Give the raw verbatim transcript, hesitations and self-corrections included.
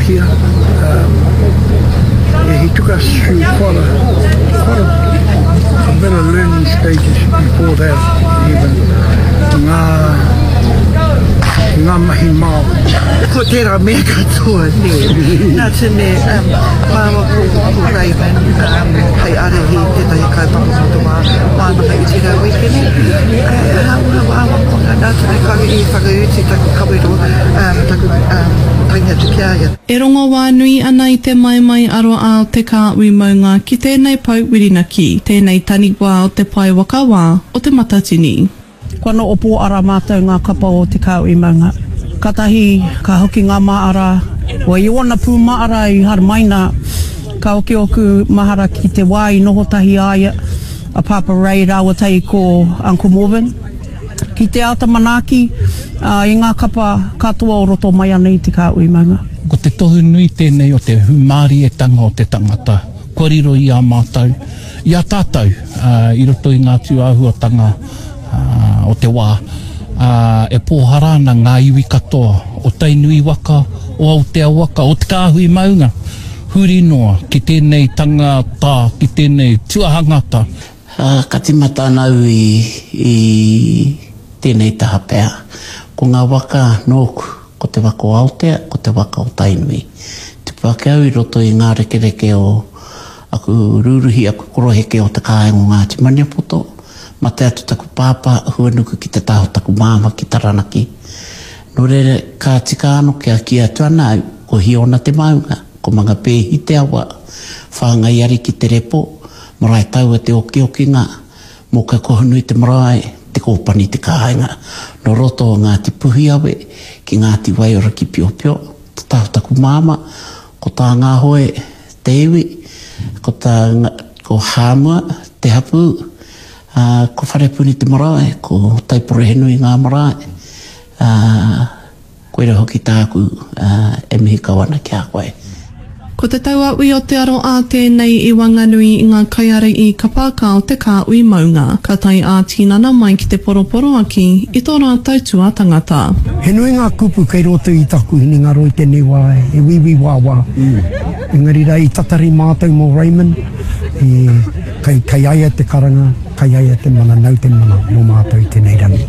Paihia. Um, yeah, he took us through quite a, quite a, a bit of learning stages before that even. Ngā, ngā mahi Māori. Ko tērā mea katoa, nē. Nā te mea, um, māua ko, ko Raven, um, hei ārahi tētahi kaupapa mō te wā, wānanga i tērā wīkene. Uh, hāunga wāwanga, nā te mea kāore i whakautu taku kawero, um, taku um, tangi atu ki a ia. E rongo wānui ana i te maimai aroā o te kāhui maunga ki tēnei pou whirinaki, tēnei taniwha o te pae whakawā o Te Matatini. Kua noho pōara mātou ngā kapa o Te Kāhui Maunga. Katahi ka hoki ngā māra, o i ōna pū māra i haramaina, ka hoki ōku mahara ki te wā i noho tahi a ia, a Pāpā Ray rāua tahi ko Uncle Morvin. Ki te āta manaaki i ngā kapa katoa o roto mai ana i Te Kāhui Maunga. Ko te tohu nui tēnei o te hūmārietanga o te tangata kua riro i a mātou, i a tātou i roto i ngā tūāhuatanga o te wā, e pōhara ana ngā iwi katoa o Tainui waka, o Aotea waka, o Te Kāhui Maunga, huri noa ki tēnei tangata, ki tēnei tuahangata. Ka tīmata ana au i tēnei taha pea. Ko ngā waka nōku, ko te waka o Aotea, ko te waka o Tainui. Tupu ake au i roto i ngā rekereke o aku rūruhi, aku koroheke o te kāinga o Ngāti Maniapoto. Mate atu taku pāpā, huanuku ki te taha o taku māmā ki Taranaki. Nō reira, ka tika ano kia kī atu ana au, ko Hiona te maunga, ko Mangapēhi te awa, Whāngai Ariki te repo, Maraetaua te okiokinga, Mōkau-kohunui te marae, Te Kōpani te kāinga, nō roto o Ngāti Puhiawe ki Ngāti Waiora ki Piopio, te taha o taku māmā, ko Tāngahoe te iwi, ko tā, ko Hāmua te hapū, ā, ko Wharepuni te marae, ko Taiporohenui ngā marae, ā, koira hoki tāku e mihi kau ana ki a koe. Ko te tauaui o te aroā tēnei i waenganui i ngā kaiārahi kapa ka o te kāhui maunga. Ka tae ā-tinana mai ki te poroporoaki i tō rātou tuatangata. He nui ngā kupu kei roto i taku hinengaro i tēnei wā, he wīwī wāwā. Engari rā i tatari mātou mō Raymond, e, kei, kei a ia te karanga, kei a ia te mana, nau te mana mō mātou i tēnei rangi.